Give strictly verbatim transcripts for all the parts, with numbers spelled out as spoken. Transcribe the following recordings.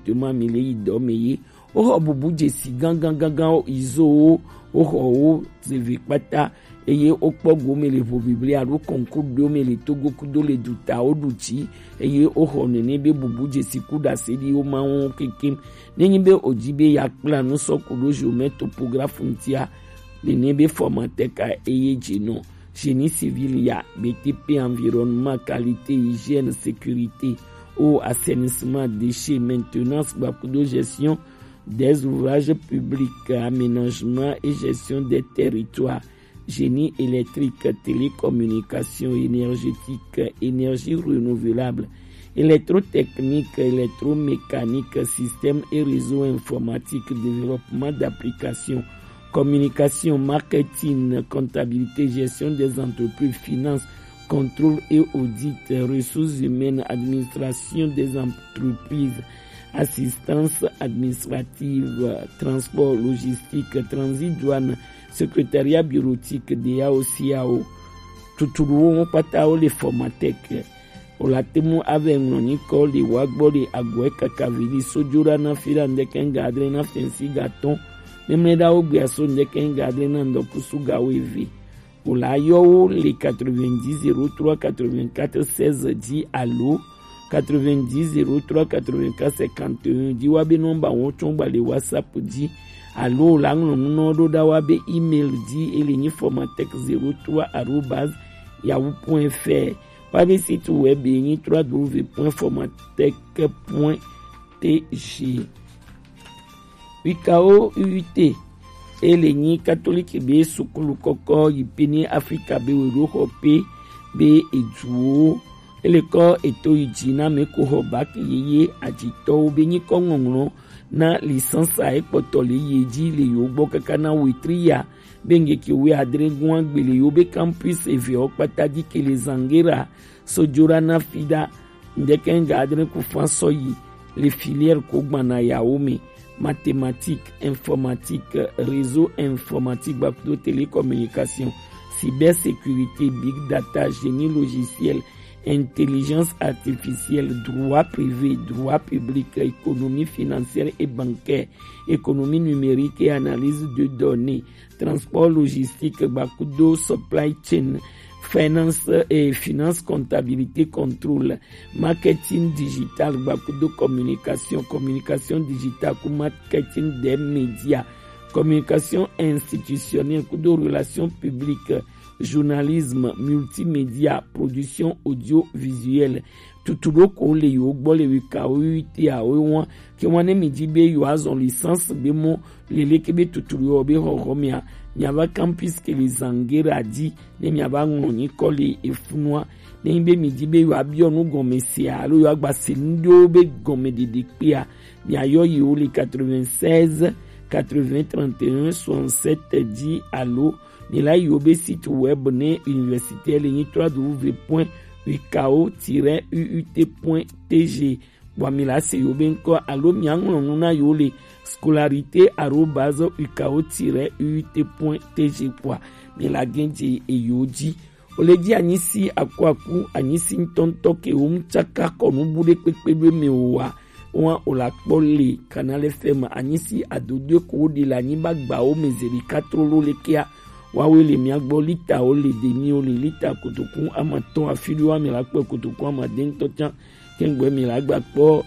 directement mi le yi dɔ me ye. Woxɔ bubu dzesi gangan gangan izo wo, woxɔ wo zeve kpata, eye wokpɔ gome le ʋu biblia alo kɔnku ɖewo me le Togo kudo le dutawo ɖu dzi, eye woxɔ nene be bubu dzesi ku ɖase ɖi wo ma wo kekem. Nenyi be wòdi be yeakpla nu sɔ ku ɖo géomètre topographe ŋutia, nene be formateka eye dze nɔ. Génie civil ya, B T P, environnement, qualité, hygiène, sécurité, eau, assainissement, déchets, maintenance, gbakudo gestion des ouvrages publics, aménagement et gestion des territoires, génie électrique, télécommunication, énergétique, énergie renouvelable, électrotechnique, électromécanique, système et réseau informatique, développement d'applications, communication, marketing, comptabilité, gestion des entreprises, finance, contrôle et audit, ressources humaines, administration des entreprises, assistance administrative, transport, logistique, transit, douane, secrétariat bureautique, D A O, C A O. Tutuluwo kpata wo le formatec. Wòla te ŋu ave ŋlɔ nyikɔ le wa gbɔ le agɔe kaka vi li sojo ɖa na fi ɖa ŋdɛkɛ ŋga adre na fɛnsi ga tɔn. Memlɛ ɖa wo gbea so ŋdɛkɛ ŋga adre na ŋdɔkusu ga wo eve. Wòla yɔ wo le quatre-vingt-dix zéro trois quatre-vingt-quatre seize dzi alo quatre-vingt-dix zéro trois quatre-vingt-quatre cinquante et un dzi wa be nɔmba wo tsɔn gba le WhatsApp dzi alo wòla ŋlɔ nu nɔ ɖo ɖa wa be email dzi ele nyi formatec zéro trois arobase yahoo point F R. Woabe site web ye nyi trois W point formatec point T G. Wikao U U T, ele nyi katoliki be sukulu kɔkɔ yi pe ne Afrika be we ɖo xɔ pe be eduwo. Ele kɔ eto yi dzi na me ko xɔ baki yeye adzitɔwo be nyikɔ ŋɔŋlɔ na lisansa ekpɔtɔ le ye dzi le yo gbɔ kaka na wetri ya be ŋgeke wi adre gua gbele yo be campus eve o kpata dzi ke le Zangera, Sojora na Fida, ŋdɛkɛ ŋga adre ku fa sɔ yi le filière ko gbana yawo me, mathématique, informatique, réseau informatique, gbakudo télécommunication, cybersécurité, big data, génie logiciel, intelligence artificielle, droit privé, droit public, économie financière et bancaire, économie numérique et analyse de données, transport logistique, gbakudo supply chain, finance et finance, comptabilité, contrôle, marketing digital, gbakudo communication, communication digitale, ku marketing des médias, communication institutionnelle, kudo relations publiques, journalisme, multimédia, production audiovisuelle. Tutu ɖo ko le yo gbɔ le wika wo wi te a wo wa. Ke wa ne mi di be yo azɔ licence be mo lele ke be tutu yo be xɔxɔ mia, mia va campus ke le Zangera di, ne mia va ŋlɔ nyikɔ le efunua. Ne be mi di be yo abiɔ nu gɔme se alo yo agba se nu ɖewo be gɔme ɖeɖe kpea, mia yɔ yi wo le quatre-vingt-seize quatre-vingts trente et un soixante-sept di alo mi la yi wo be site web ne université le nyi trois W point wikao tiret U U T point T G. Bua mi la se yo be ŋkɔ alo mia ŋlɔ nu na yo le scolarité arobase wikao tiret U U T point T G kpɔa mi la gɛn je eyo ji. O le ji anyisi akuaku, anyisi ŋutɔŋutɔ ke wo mu tsaka kɔ nu bu ɖe kpekpe ɖo eme o wa, wa o la kpɔ le Canal F M anyisi adodoe ko wo ɖi le anyigba gbawo me zeɖi katrolo le kea. Wawe le mia gbɔ lita wo le demi wo le lita kotoku amatɔn afi ɖo wa mi la kpɔ kotoku amadɛntɔ tsã. Kɛngbɛ mi la gba kpɔ,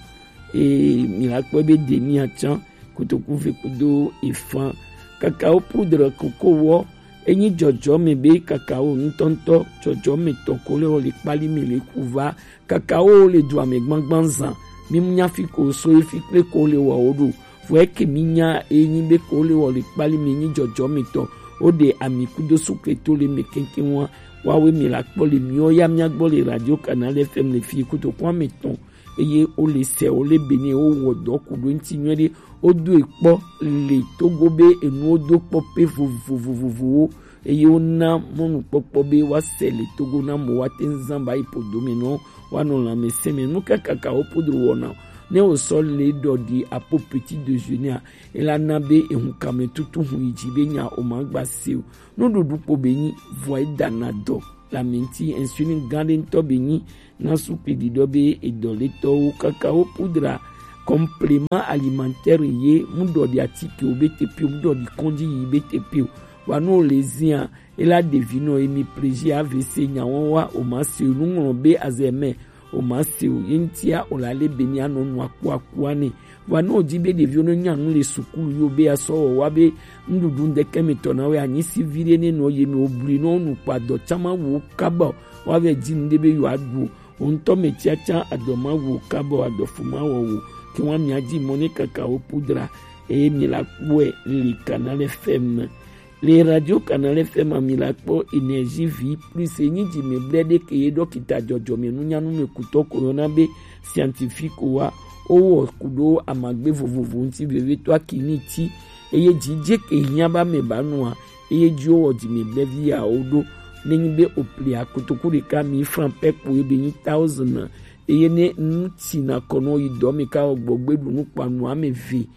ee, mi la kpɔ be demi atsã kotoku ve kudo efan. Kakao poudre koko wɔ, enyi dzɔdzɔme be kakao ŋutɔŋutɔ dzɔdzɔme tɔ ko le wɔ le kpali me le ku va. Kakao le du ame gbangban zan. Mi mu nya fi ko so efi kple ko le wɔ wo ɖo. Vɔ eke mi nya enyi be ko le wɔ le kpali me nyi dzɔdzɔme tɔ. Wo ɖe ami kudo sukle to le me keŋkeŋ wa. Wawe mi la kpɔ le miɔ ya mia gbɔ le Radio Canal F M le fi kotoku ame tɔn. Eye wo le sɛ wo le be ne wo wɔ dɔ ku ɖo ŋuti nyuie ɖe, wo do ekpɔ le Togo be enuwo do kpɔ pe vovovovovowo. Eye wo na mɔnukpɔkpɔ be wa sɛ le Togo na mo wa te ŋzan ba yi po do me nɔ wa nɔ lãmesẽ me. Nu ka kakao poudre wɔna ne wo sɔ le ɖɔ ɖi apo petit déjeuner a, ela na be ehun kame tutu hun yi dzi be nya o ma gba se o. Nuɖuɖu kpo be nyi vɔ e dana dɔ le ame ŋuti. Insuline gã ɖe ŋutɔ be nyi na sukli ɖiɖɔ be edɔletɔwo. Kakao poudre complément alimentaire ye, mu ɖɔ ɖi atike wo be te pio, mu ɖɔ ɖi kɔnji yi be te pio. Wa nu o le zia, e la ɖevi nɔ emi plaisir A V C nya wɔn wa o ma se o nu ŋlɔ be azɛ mɛ o ma se o ye ŋtia o la le be ni anɔ nu aku aku ane. Wa nu o di be ɖevi wo ne nya nu le sukulu yo be asɔ wɔ wa be nuɖuɖu ŋdɛkɛ mi tɔ na we anyi si vi ɖe ne nɔ ye mi o bli nɔ nu kpa dɔ tsama wo kaba wa vɛ di nu ɖe be yo aɖu o. Wo ŋutɔ mɛ tiatia adɔ ma wo kaba adɔ fu ma wɔ wo ke wa mi adi mɔ ne kaka wo pudra eye mi la kpɔe le Canal F M. Le Radio Canal F M a mi la kpɔ Énergie Vie Plus e nyi dzi mi blɛ ɖe ke ye dɔkita dzɔdzɔme nunyanu me kutɔ ko yɔna be scientifique wa o wɔ ku ɖo amagbe vovovo ŋuti vevitɔ akini ti eye dzi dze ke hiã ba me ba nua eye dzi o wɔ dzi mi blɛ vi ya o ɖo ne nyi be o pli akutuku ɖeka mi franc pɛ kpo ebe nyi thousand eye ne nu ti na kɔ nɔ yi dɔ mi ka wɔ gbɔ gbe ɖu nu kpa nua me ve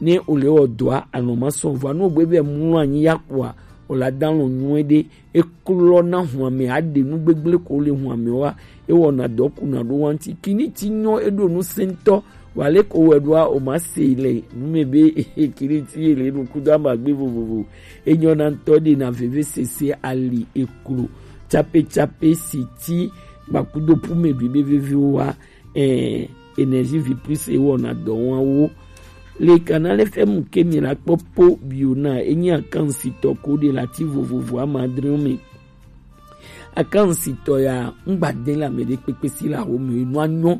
ne o le wɔ dɔa anɔ ma sɔn vɔ ne o gbe vɛ mlɔ anyi ya kpoa o la da lɔ nyuie ɖe e klɔ na hua me aɖe nu gbegble ko le hua me wa e wɔ na dɔ ku na ɖo wa ŋuti kini ti nyɔ e ɖo nu sentɔ wa le ko wɛ ɖoa o ma se le nu me be kini ti ye le nu kudo ama gbe vovovo e nyɔ na ŋutɔ ɖe na veve sese ali e klo tsape tsape si ti gbakudo pu me ɖu be veve wa eh, Énergie Vie Plus e wɔna dɔ wɔn wo. Le Canal F M ke mi la kpɔ po bio na enyi akansitɔ ko de la ti vovovo amadre me. Akansitɔ ya ŋgba de la me de kpekpe si la wo me no anyo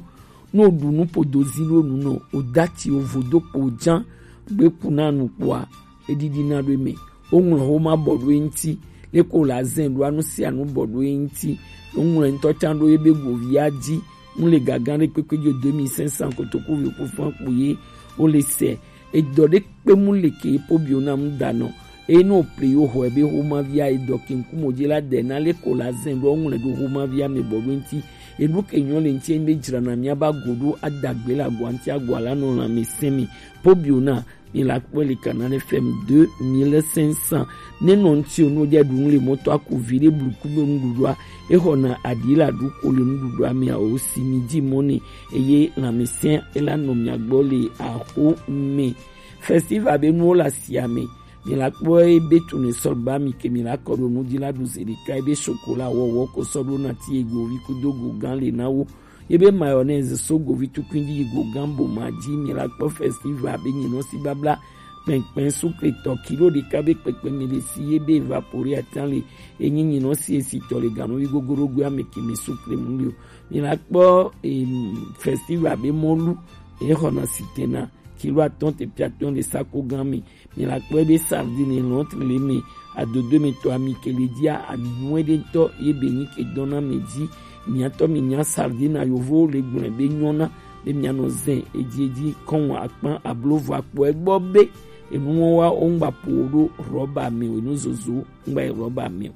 no ɖu nu podo zi lo nu no o dati o vodo kpo jan gbe ku na nu kpoa edidi na ɖo eme. Woŋlɔ xoma bɔ ɖo eŋuti. Leke wòle azẽ ɖoa, nu sia nu bɔ ɖo eŋuti. Woŋlɔe ŋutɔ tsã ɖo ebe govia dzi. Nu le gagã ɖe kpekpe dzo deux mille cinq cents kotoku vi ku fã kpo ye wole se. Edɔ ɖe kpe mu le ke epo bio na mu da nɔ. Eye ne wòple yewo xɔ ebe xomavia edɔ ke ŋkume dzi la de na leke wòle azẽ ɖoa, woŋlɔe ɖo xomavia me bɔ ɖo eŋuti. Enu ke nyɔ le ŋuti enyi be dzrana miaba go ɖo adagbe le agɔa ŋuti, agɔa la nɔ lãmesẽ me. Po bio na mi la kpɔe le Canal F M deux mille cinq cents. Ne nɔ ŋuti o, ne wodze ɖu nu le mɔto aku vi ɖe bluku be nuɖuɖua, exɔna aɖi la ɖu ko le nuɖuɖua mea, o si mi dzi mɔ ne eye lãmesẽ ela nɔ mia gbɔ le axo me. Festival be nuwo le asia me. Mi la kpɔe be tunu sɔ gba mi ke mi la kɔ ɖo nu dzi la ɖu zi ɖeka ebe chocolat wɔwɔ ko sɔ ɖo na ti ego vi kudo go gã le na wo. Ye be mayonnaise so govi tukui dzi yi go gambo ma dzi mi la kpɔ festival be nyi nɔ si babla kpɛnkpɛn sukle tɔ kilo ɖeka be kpɛkpɛ mi le si ye be evapore atan le enyi nyi nɔ si esi tɔ le ganu yi gogoro gbe ame ke mi sukle mu le o. Mi la kpɔ em, festival be mɔlu ye xɔna sitena kilo atɔn te piatɔn le sako gan mi. Mi la kpɔe be sardine lɔntri le me adodo me tɔ ami ke le dzia ami nyuie ɖe ŋutɔ ye be nyi ke dɔn na me dzi. Miatɔ mi nya sardine a yovo le gblɔe be nyɔna be mianɔ zẽ edzi edzi kɔn akpan ablo vɔ akpɔ egbɔ be enuwo wa wo ŋgba po wo ɖo rɔba me o, enu zozo ŋgba yi rɔba me o.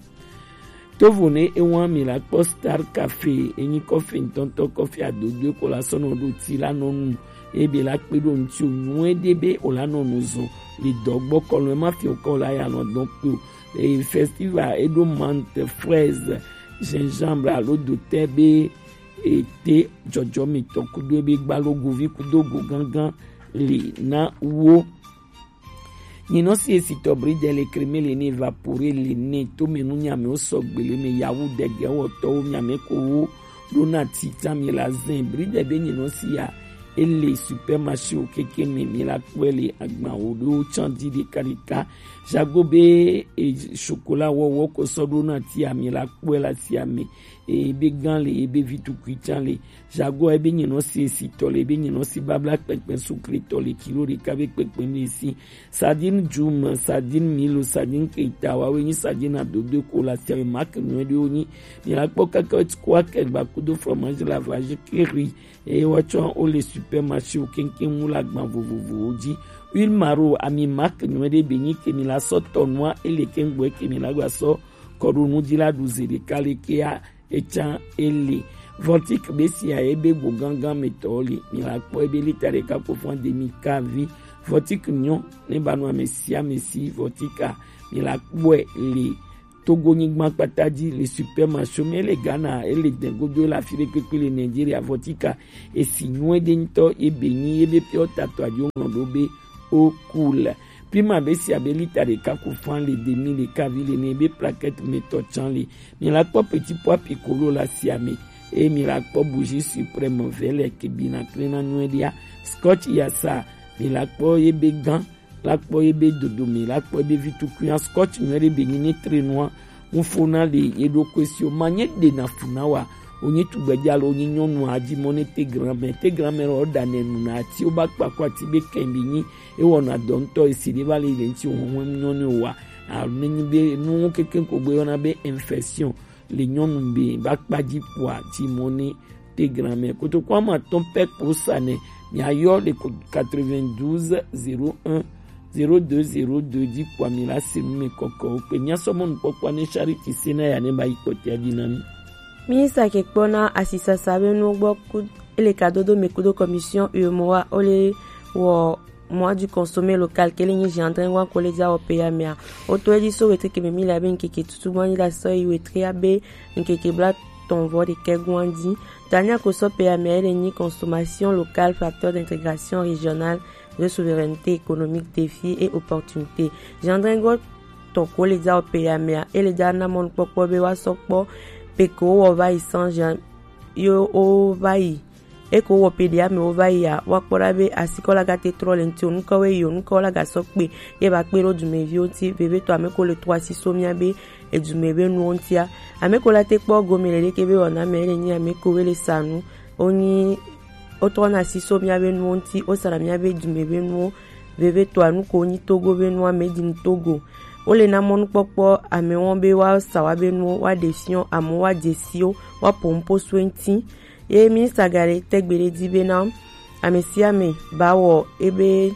Tovo ne ewa mi la kpɔ Star Cafe, enyi kɔfi ŋutɔŋutɔ kɔfi adodoe ko la sɔnɔ ɖo ti la nɔ nu. Ebe la kpe ɖo ŋuti o nyuie ɖe be o la nɔ nu zɔn le dɔ gbɔ kɔlɔn ema fi o kɔ la ya nɔ dɔn kpe o. E festival eɖo menthe, fraise, gingembre alo dotɛ be ete dzɔdzɔmetɔ kudo ebe gbalo govi kudo go gangan li na wo. Nyinɔ si esitɔ bridɛ le kreme le ne evapore le ne to me nu nyame wo sɔgbe le me yawu dɛgɛ wɔtɔwo nyame ko wo ɖo na ti ta mi la zɛn bridɛ be nyinɔ si ya ele supermarché wo keke me mi la kpɔe le agban wo ɖo tsan di ɖeka ɖeka. Jago be e, chocolat wɔwɔ ko sɔ ɖo na ti ya mi la kpɔe la si ame ebe gan le ebe vi tukui tsan le. Jago ebe nyinɔ si esitɔ le ebe nyinɔ si babla kpɛkpɛ sukle tɔ le kilo ɖeka be kpɛkpɛ mi si. Sardine Jum, sardine Milo, sardine Keita, wawoe nyi sardine adodo ko le asia me, marque nyuie ɖewo nyi. Mi la kpɔ kaka ko akɛgba kudo fromage lavage keri eye woatsɔ wo le supermarché wo keŋkeŋ mu le agban vovovowo dzi. Huile Maro, ami marque nyuie ɖe be nyi ke mi la sɔ tɔ nua ele keŋ gbɔ ke mi la gba sɔ kɔ ɖo nu dzi la ɖu ze ɖeka le kea etsã ele. Voltic be sia ye be go gangan me tɔ le. Mi la kpɔ ebe lita ɖeka ko fã demi kavi. Voltic nyɔ ne ba nɔ ame sia ame si Voltic a. Mi la kpɔe le Togo nyigban kpata ji, le Super Macho, mɛ le Ghana, e le Dɛngodo, e le afi ɖe kpekpe le Nigeria, Vɔtika, e si nyuie ɖe ŋutɔ, e be nyi, e be piɔ tatɔ ajo ŋlɔ ɖo be o cool. Pima be si abe lita ɖeka ku fan le demi le kavi le ne be plaquette me tɔ can le. Mi la kpɔ petit pois piccolo la si ame. E mi la kpɔ bougie suprême vɛlɛ ke bi na kle na nyuie ɖia. Scotch yasa, mi la kpɔ ye be gan, la kpɔ ye be dodome, la kpɔ ye be vitukunya. Scotch nyuie ɖe be nyi ne tre nua, ŋufo na le ye ɖo kwe si o ma nye ɖe na fu na wa. O nye tugbedze alo o nye nyɔnu a ji mɔ ne te grand-mère, te grand-mère o da ne nu na ati o ba kpa ko ati be kɛn bi nyi. E wɔna dɔ ŋutɔ, e si ɖe va le le ŋuti o hɔn nyɔnu o wa. A ne nyi be nu keke ko gbe yɔna be infection le nyɔnu be ba kpa ji kpoa ji mɔ ne te grand-mère. Kotoku ama tɔn pɛ ko sa ne, mi ayɔ le ko quatre-vingt-douze zéro un zéro deux zéro deux dzi kpoa mi la se nu me kɔkɔ o kpe. Mi asɔ mɔ nukpɔkpɔ ne Charity se na ya ne ba yi kpɔtia dzi na mi. Ministre ke kpɔ na asisasa be nuwo gbɔ ku ele ka dodo me kudo commission U E M O A o le wɔ mois du consommé local ke le nyi Jean Drengoan ko le dza wɔ pe ya mea. O to edzi so wetre ke me mi la be nkeke tutu gbɔn la sɔ yi wetre ya be nkeke bla tɔn vɔ de kɛ gbɔn dzi. Tania ko sɔ pe ya mea ele nyi consommation locale, facteur d'intégration régionale, de souveraineté économique, défis et opportunités. Jean Drengoan tɔn ko le dza wɔ pe ya mea ele dza na mɔnukpɔkpɔ be wa sɔ kpɔ pe ko wɔ va yi san Jean yo o va yi. E ko wɔ pe ɖe ame wo va yi a, wa kpɔ ɖa be asikɔ la gate trɔ le ŋuti o, nukɔ we yi o, nukɔ la ga sɔ kpe, ye ba kpe ɖo dumeviwo ŋuti, vevitɔ ame ko le trɔ asi so mia be edume be nuwo ŋutia. Ame ko la te kpɔ gome le ɖeke be wɔna me le nyi ame ko we le sa nu, o nyi o trɔ na asi so mia be nuwo ŋuti, o sa na mia be dume be nuwo, vevitɔ anu ko nyi Togo be nua, me di nu Togo. O le na mɔnukpɔkpɔ ame wɔn be wa sa wa be nuwo, wa ɖe fiɔ, ame wa dze si o, wa po ŋpo so ŋuti. Ye minista ga ɖe tɛgbe ɖe di be na ame sia ame ba wɔ ebe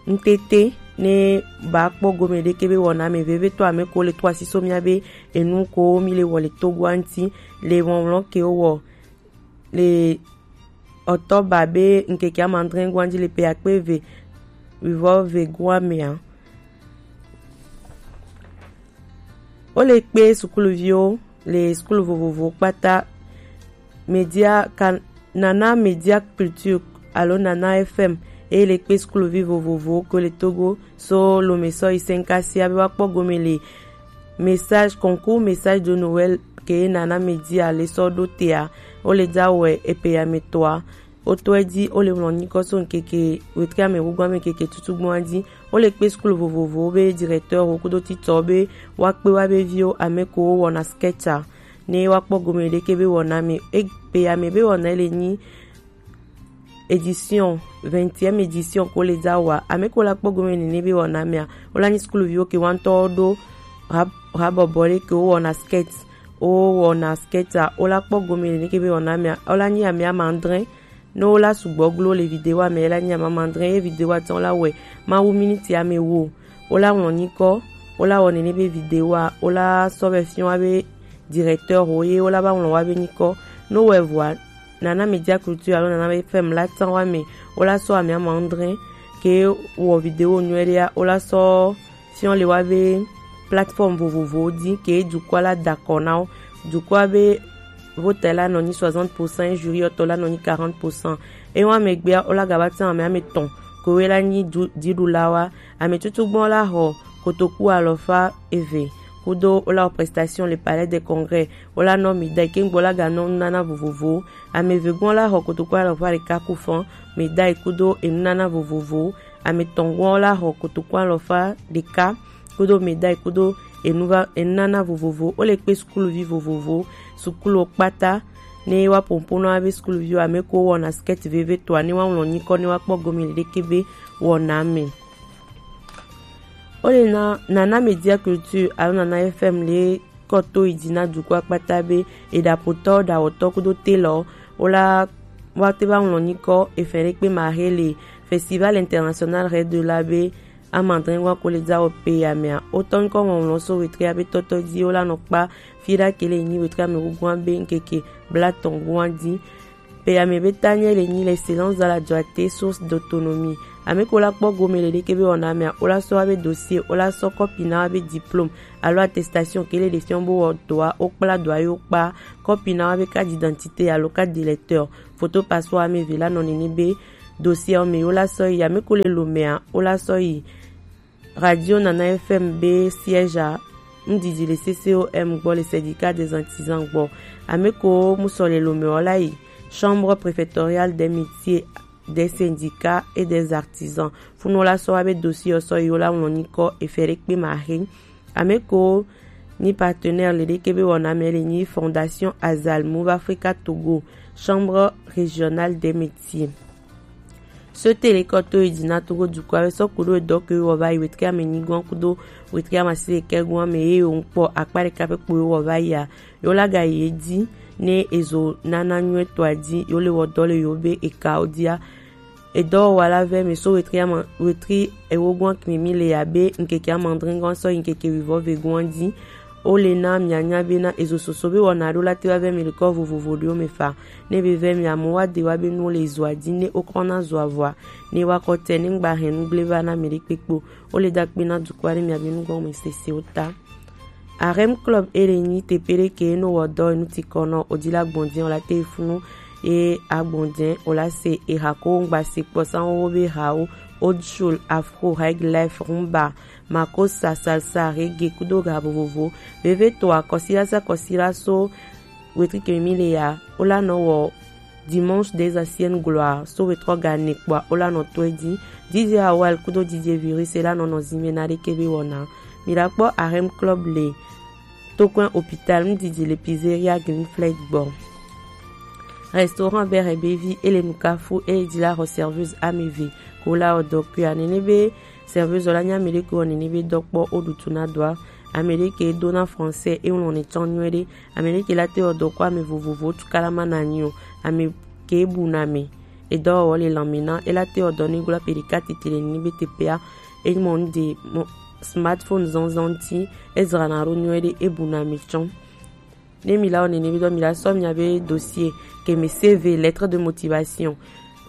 ŋtete ne ba kpɔ gome ɖeke be wɔna me vevitɔ ame ko le to asi so mia be enu ko mi le wɔ le Togoa ŋuti le wɔwlɔ ke wɔ le ɔtɔba be ŋkeke amadrɛ goa ŋuti le pe akpe eve wivɔ ve goa mea. Wo le kpe sukuluviwo le sukulu vovovowo kpata. Media ka Nana Media Culture alo Nana F M, eye le kpe sukuluvi vovovowo ko le Togo so lome sɔ yi sɛnkasia be woakpɔ gome le message, concours message de Noël ke Nana Media le sɔ ɖo tea. Wo le dza wɛ epe ya me tɔa. Wo tɔ edzi, wo le ŋlɔ nyikɔ so ŋkeke wetri ame gbogbo ame ŋkeke tutugbɔn dzi. Wo le kpe sukulu vovovowo be directeur wo kudo titɔ be woakpe wa be viwo ame ko wo wɔna sketcha ne woakpɔ gome ɖeke be wɔna me. Egbe ya me be wɔna le nyi édition, vingtième édition ko le dza wa. Ame ko la kpɔ gome nene be wɔna mea, wo la nyi sukuluviwo ke wa ŋutɔ ɖo ha, habɔbɔ ɖe ke wo wɔna sketch, wo wɔna sketcha, wo la kpɔ gome nene ke be wɔna mea, wo la nyi ame amadrɛ. Ne wo la sugbɔ glo le video ame la nyi ame amadrɛ ye video atɔn la wɛ mawu miniti ame wo. Wo la ŋlɔ nyikɔ, wo la wɔ nene be video a, wo la sɔ vɛ fiɔ wa be directeur wo ye wo la ba ŋlɔ wa be nyikɔ. No wɛ vɔa Nana Media Culture alo Nana F M la tsan wa me, wo la sɔ ame amadrɛ ke wɔ video nyuie ɖea, wo la sɔ fiɔ le wa be plateforme vovovowo dzi ke dukɔa la da kɔ na wo. Dukɔa be vote la nɔ nyi soixante pour cent, jury tɔ la nɔ nyi quarante pour cent. Ewa megbea wo la gaba tsan ame ame tɔn ko we la nyi du, diɖula wa. Ame tutugbɔn la xɔ kotoku alɔfa eve kudo wo la wɔ prestation le Palais des Congrès. Wo la nɔ médaille ke ŋgbɔ la ga nɔ nunana vovovowo. Ame eve gbɔn la xɔ kotoku alɔfa ɖeka ku fɔn, médaille kudo enunana vovovowo. Ame tɔn gbɔn la xɔ kotoku alɔfa ɖeka kudo médaille kudo enuva, enunana vovovo. Wo le kpe sukuluvi vovovo, sukuluwo kpata ne wa pompona be sukuluviwo ame ko wɔna skɛti veve tɔa ne wa ŋlɔ nyikɔ ne wa kpɔ gome ɖeke be wɔna me. Wo le na Nana Media Culture alo Nana F M le kɔ to yi dzi na dukɔa kpata be eɖaƒotɔ, ɖawɔtɔ kudo telɔ wo la wa te va ŋlɔ nyikɔ efɛn ɖe kpe ma he le Festival International Red de la be amadrɛ wa ko le dza wɔ pe ya mea. Wo tɔ nyikɔ ŋlɔŋlɔ so wetria be tɔtɔ dzi wo la nɔ kpa fi ɖa ke le nyi wetria me wu gua be ŋkeke blatɔn gua dzi. Pe ame be ta nye le nyi l'excellence dans la droitate, source d'autonomie. Ame ko la kpɔ gome le ɖeke be wɔna mea, o la sɔ wa be dossier, o la sɔ kɔpi na wa be diplôme alo attestation ke le ɖe fiɔ bo wɔ dɔa, o kpla dɔa yo kpa, kɔpi na wa be carte d'identité alo carte d'électeur, photo passeport ame eve la nɔ nene be dossier ɔ me, o la sɔ yi. Ame ko le lo mea, o la sɔ yi Radio Nana F M be siège a, ŋdidi le C C O M gbɔ, le syndicat des artisans gbɔ. Ame ko mu sɔ le lo me ɔ la yi Chambre préfectorale des métiers, des syndicats et des artisans. Funu la sɔ wa be dossier ɔ sɔ yi, o la ŋlɔ nyikɔ Eferekpe Mahe. Ame ko ni partenaire le ɖeke be wɔna mea le nyi Fondation Azal Move Africa Togo, Chambre régionale des métiers. Sotele kɔto yi dzi na Togo dukɔa be sɔ kudo edɔ ke wɔ va yi wetri ame nyigoa kudo wetri ame asi ɖekɛ goa me ye yo ŋkpɔ akpa ɖeka ƒe kpo yo wɔ va yia, yo la ga yi edzi ne ezo nana nyuie tɔa dzi yo le wɔ dɔ le yo be ekawo dia. Edɔwɔwa la vɛ mi so wetri ama wetri ewo goa kmi mi le ya be ŋkeke ama adre goa sɔ yi ŋkeke wivɔ ve goa dzi. O le na mianya be na ezo soso be wɔna ɖo la te wa vɛ mi le kɔ vovovo ɖewo me fa. Ne be vɛ mi amewo wa de wa be nuwo le ezoa dzi ne o kɔ na zoa vɔa, ne wa kɔ tɛ ne ŋgba hɛn nu gble va na mi ɖe kpekpo. O le da kpe na dukɔa ne mi abi nu gɔme sese o ta. Arem Club e le nyi teƒe ɖe ke no wɔ dɔ enu ti kɔ nɔ o di la gbɔn dzi o la te funu e agbɔn dzi o la se e ha ko ŋgba se kpɔ sanwó be hawo, old soul, afro, high life, rumba, makosa, salsa, reggae kudo ga vovovo. Veve to akɔsila sa kɔsila so wetri ke mi le ya o la nɔ wɔ Dimanche des anciennes gloires so wetrɔ ga ne kpɔa o la nɔ to edzi. D J Awal kudo D J Virus e la nɔ nɔ zime na ɖeke be wɔna. Mi la kpɔ Arem Club le Tokwen Hôpital ŋdidi le Pizzeria Green Flag gbɔ. Restaurant Bere Bevi e le Nukafu e di la xɔ serveuse ame eve ko la wɔ dɔ kuia nene be serveuse la nya ame ɖe ko wɔ nene be dɔ kpɔ o ɖutu na dɔa. Ame ɖe ke do na français e ŋlɔ ne tsɔ nyuie ɖe. Ame ɖe ke la te wɔ dɔ ko ame vovovo tu kala ma na nyi o. Ame ke bu na me. Edɔwɔwɔ le lãme na e la te wɔ dɔ ne glo aƒe ɖeka tete le nene be teƒea e mɔ nu de mɔ smartphone zɔnzɔn ti e zrana ɖo nyuie ɖe e bu na me tsɔ. Ne mi la wɔ nene be dɔ mi la sɔ mia be dossier ke me C V, lettre de motivation,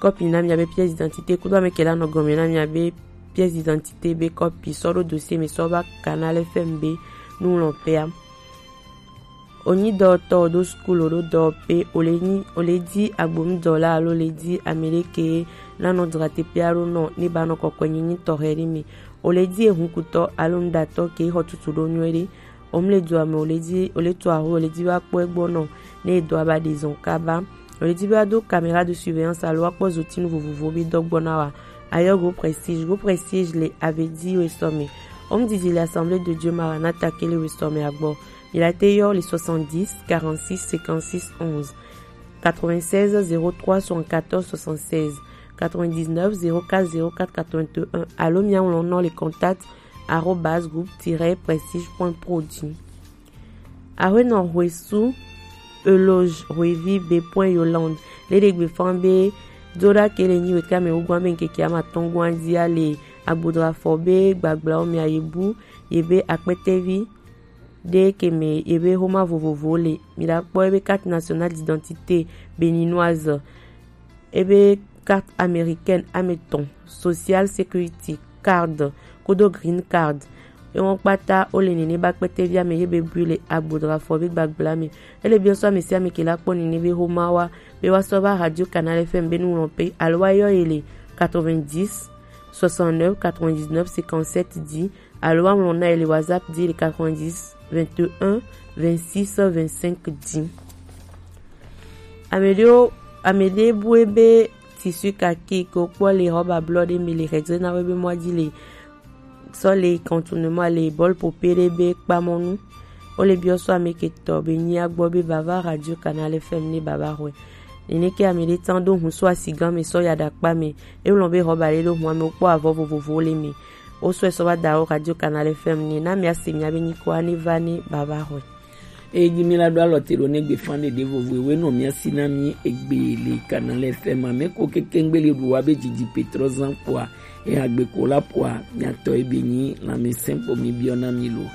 kɔpi na mia be pièce d'identité kudo ame ke la nɔ gɔme na mia be pièce d'identité be kɔpi sɔ ɖo dossier me sɔ va Canal F M be nu lɔ pea. O nyi dɔwɔtɔ o ɖo school o ɖo dɔwɔƒe o le nyi o le di agbonudɔla alo le di ame ɖe ke la nɔ dra teƒe aɖo nɔ ne ba nɔ kɔkɔe nyi nyi tɔxɛ ɖe me. O le di ehunkutɔ alo nuɖatɔ ke xɔ tutu ɖo nyuie ɖe. O mle dua me o le di o le tu aho o le di va kpɔ egbɔ nɔ ne edɔa ba ɖe zɔn kaba. O le di be wa do caméra de surveillance alo wa kpɔ zotinu vovovo be dɔ gbɔ na wa. Ayɔ go prestige go prestige le avedi we sɔ me. O mdidi le Assemblée de Dieu Maranatha ke le we sɔ me agbɔ. Mi la te yɔ le soixante-dix quarante-six cinquante-six onze, quatre-vingt-seize zéro trois soixante-quatorze soixante-seize, quatre-vingt-dix-neuf zéro quatre zéro quatre quatre-vingt-un alo mia ŋlɔ nɔ le contact arobase groupe tiret prestige point pro dzi. Ahuenɔ Huesu Eloge Huevi be point Yolande le ɖe gbe fan be do ɖa ke le nyi wetri ame wugoa be ŋkeke ama tɔn goa dzia le agbodra fɔ be gbagblao mia ye bu ye be akpɛtɛvi ɖe ke me ye be xoma vovovo le. Mi la kpɔ ebe carte nationale d'identité béninoise, ebe carte américaine ame etɔ̃, social security card kudo green card. Ewo kpata wo le nene ba kpɛtɛvi ame ye be bui le agbodra fɔ be gbagbla me. Ele biɔ sɔ ame sia ame ke la kpɔ nene be xoma wa be wa sɔ va Radio Canal F M be nu lɔn pe alo wa yɔ ye le quatre-vingt-dix soixante-neuf quatre-vingt-dix-neuf cinquante-sept dzi. Alo wa ŋlɔ na ye le WhatsApp dzi le quatre-vingt-dix vingt-et-un vingt-six vingt-cinq dzi. Ame ɖewo, ame ɖe bue be tissu kaki ke wokpɔ le xɔba blɔ ɖe me le xedze na wo be mɔa dzi le sɔ le contournement le bɔl pope ɖe be kpamɔnu. Wo le biɔ sɔ ame ke tɔ be nyia gbɔ be bava Radio Canal F M ne bava xɔe. Nene ke ame ɖe tsan ɖo hun sɔ asigã me sɔ ya ɖakpa me. Ewlɔ be xɔba ɖe ɖo hun ame wokpɔ avɔ vovovowo le me. Wo sɔe sɔ va da wo Radio Canal F M ne na mia se mia be nyikɔa ne va ne bava xɔe. Eyi mi la ɖo alɔ te ɖo ne gbe fan ɖeɖe vovo ewe nɔ mia si na mi egbe le Canal F M ame ko keke ŋgbe le ɖu wa be dzidzi petrɔ zan kpoa eha gbe ko la kpoa mia tɔ ebe nyi lãmesẽ kpo mi biɔ na mi lo.